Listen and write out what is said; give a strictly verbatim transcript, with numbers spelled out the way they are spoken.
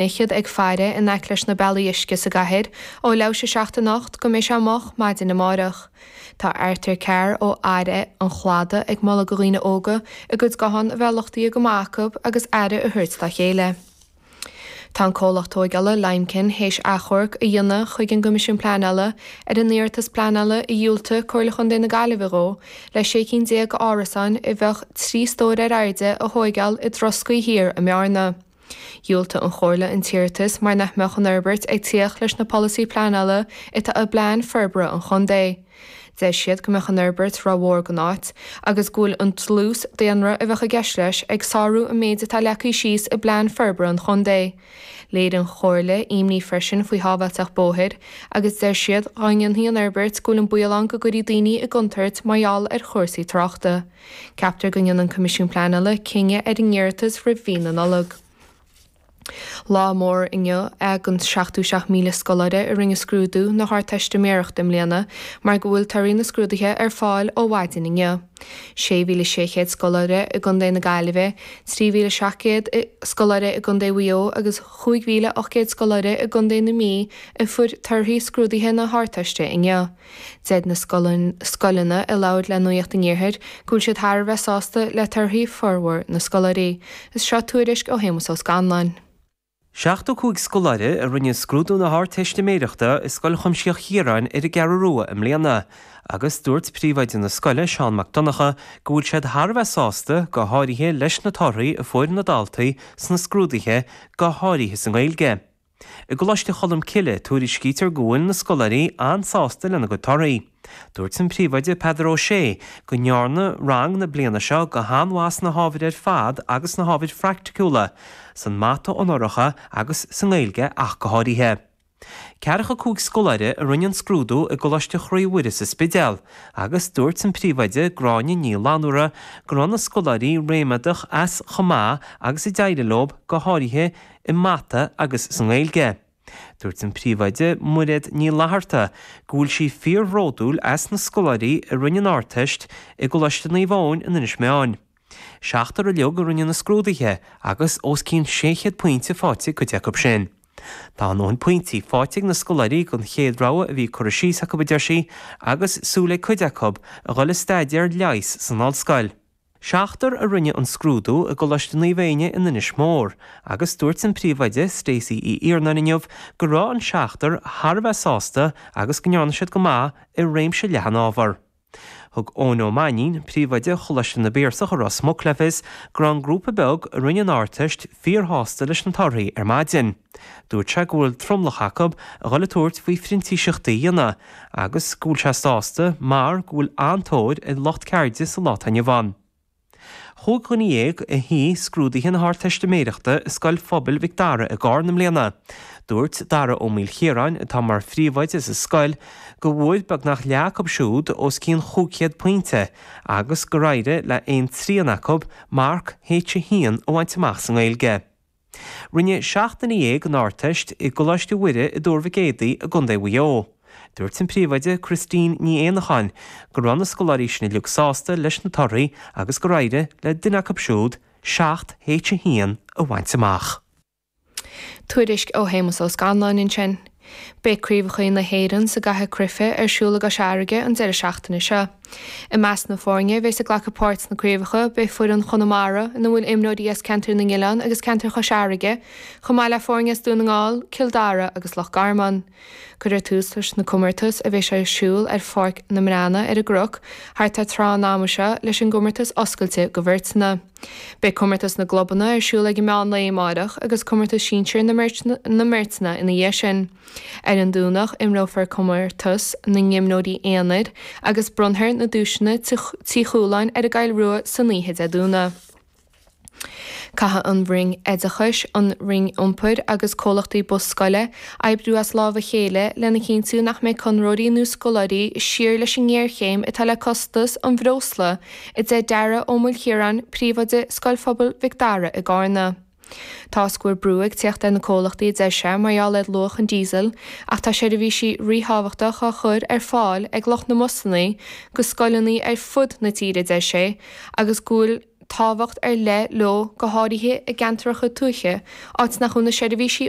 fhichead ag faire in aice leis na bealaí uisce sa gcathair ó leathuair tar éis a seacht anocht go mbeidh sé moch maidin amárach. Tá Arthur Carr ó Aire an Chladaigh ag moladh do dhaoine óga a gcuid guthán a bheith luchtaithe go maith acu agus aire a thabhairt dá chéile. Tá an comhlacht tógála Limekiln théis achomharc a dhéanamh chuig an gCoimisiún Pleanála ar an iarratas pleanála a dhiúltaigh Comhairle Chontae na Gaillimhe dhó le sé cinn déag árasáin a bheadh trí stór ar airde a thógáil i dTroscaí Thiar i mBearna. Dhiúltaigh an Chomhairle an t-iarratas mar nach mbeadh an fhorbairt ag tíocht leis na polasaí pleanála atá i bplean forbartha an chontae. Deir siad go mbeadh an fhorbairt rómhór don áit agus go bhfuil an dlús daonra a bheadh i gceist leis ag sárú an méid atá leagtha síos i bplean forbartha an chontae. Léirigh an Chomhairle imní freisin faoi shábháilteacht bóthair agus deir siad dá ndéanfaí an fhorbairt go bhfuil an baol ann go gcuirfí daoine i gcontúirt mar gheall ar chúrsaí tráchta. Ceaptar go ndéanfaidh an Coimisiún Pleanála cinneadh ar an iarratas roimh mhí na Nollag. Lá mór inniu ag an seachtó seacht míle scoláire a rinne scrúdú na hArdteistiméireachta i mbliana mar go bhfuil torthaí na scrúduithe ar fáil ó mhaidin inniu. Sé mhíle sé chéad scoláire i gContae na Gaillimhe, trí mhíle seacht gcéad scoláire i gContae Mhaigh Eo agus chúig mhíle ocht gcéad scoláire i gContae na Mí a fuair torthaí scrúduithe na hArdteiste inniu. Deir na scoileanna a labhair le Nuacht an Iarthair go bhfuil siad thar a bheith sásta le torthaí formhór na scoláirí. Is seo tuairisc ó Shéamus Ó Scanláin. Seachtó cúig scoláire a rinne scrúdú na hArdteistiméireachta i Scoil Chuimsitheach Chiaráin ar an gCeathrú Rua i mbliana, agus dúirt príomhoide na scoile, Seán Mac Donncha, go bhfuil siad thar a bheith sásta, go háirithe leis na torthaí a fuair na daltaí sna scrúduithe, go háirithe sa nGaeilge. I gColáiste Cholm Cille, tuairiscítear go bhfuil na scoláirí an-sásta lena gcuid torthaí. Dúirt an príomhoide Peadar Ó Sé go ndearna rang na bliana seo go han-mhaith sna hábhair ar fad agus sna hábhair phraiticiúla, san mata onóracha agus sa nGaeilge ach go háirithe. Ceathracha cúig scoláire a rinne an scrúdú i gColáiste Chroí Mhuire sa Spidéal agus dúirt an príomhoide Gráinne Ní Fhlannúra go raibh na scoláirí ríméadach as chomh maith agus a d'éirigh leo go háirithe i mata agus sa nGaeilge. Dúirt an príomhoide Muiréad Ní Fhlatharta go bhfuil sí fíorbhródúil as na scoláirí a rinne an Ardteist i gColáiste Naomh Eoin in Inis Meáin. Seachtar uilig a rinne na scrúduithe agus os cionn sé chéad pointe faighte ag cuid acu sin. Tá a ndóthain pointí faighte ag na scoláirí don chéad rogha a bhí curtha síos acu, a deir sí, agus súil ag cuid acu a dhul ag staidéar leighis san ollscoil. Seachtar a rinne an scrúdú i gColáiste Naomh Éinne in Inis Mór agus dúirt an príomhoide Stacey Uí Iarnáin inniu go raibh an seachtar thar a bheith sásta agus go ndearna siad go maith i réimse leathan ábhar. Thug Eoin Ó Mainnín, príomhoide Choláiste na bPiarsach i Ros Muc le fios go raibh an grúpa beag a rinne an Ardteist fíorshásta leis na torthaí ar maidin. Dúirt sé go bhfuil tromlach acu a dhul ag tabhairt faoi phrintíseachtaí a dhéanamh agus go bhfuil sé sásta mar go bhfuil an-tóir ar lucht ceirde sa lá atá inniu ann. Chúig dhuine dhéag a shuigh scrúduithe na hArdteistiméireachta i Scoil Phobail Mhic Dara i gCarna i mbliana. Dúirt Dara Ó Maoilchiaráin, atá mar phríomhoide sa scoil, go bhfuair beagnach leath acu siúd os cionn chúig chéad pointe agus gur éirigh le aon trian acu marc H a haon a bhaint amach sa nGaeilge. Rinne seacht nduine dhéag an Ardteist i gColáiste Mhuire i dTuar Mhic Éadaigh i gContae Mhaigh Eo. Dúirt an príomhoide Christine Ní Éanacháin go raibh na scoláirí sin uilig sásta leis na torthaí agus gur éirigh le duine acu siúd seacht H a haon a bhaint amach. Tuairisc ó Shéamus Ó Scanláin ansin. Beidh Craobhacha na hÉireann sa gcaitheamh cruife ar siúl i gCois Fharraige an deireadh seachtaine seo. I measc na foirne a bheas ag glacadh páirt sna craobhacha beidh foireann Chonamara, ina bhfuil imreoirí as Ceantar na nOileán agus Ceantar Chois Fharraige, chomh maith le foirne as Dún na nGall, Cill Dara agus Loch Garman. Cuirfear tús leis na comórtais a bheas ar siúl ar Pháirc na mBreanna ar an gCnoc thart ar tráth an ama seo leis an gcomórtas oscailte do bheirteanna. Beidh comórtas na gclubanna ar siúl ag an meán lae amárach agus comórtas sinsir na mbeirteanna ina dhiaidh sin. Ar an Domhnach imreofar comórtas na n-imreoirí aonair agus bronnfar na duaiseanna Tí Chualáin ar an gCoill Rua san oíche Dé Domhnaigh. Caithfidh an Roinn Oideachais, an Roinn Iompair agus comhlachtaí bus scoile oibriú as lámh a chéile lena chinntiú nach mbeidh conraitheoirí nó scoláirí siar leis an ngéarchéim atá le costas an bhreosla, a deir Dara Ó Maoilchiaráin, Príomhoide Scoil Phobail Mhic Dara i gCarna. Tá a fhios go bhfuil brú ag tíocht ar na comhlachtaí a deir sé mar gheall ar luach an díosail ach tá seirbhísí ríthábhachtach á chur ar fáil ag lucht na mbusanna go scoileanna ar fud na tíre a deir sé agus go bhfuil tábhacht ar leith leo go háirithe i gceantracha tuaithe, áit nach bhfuil na seirbhísí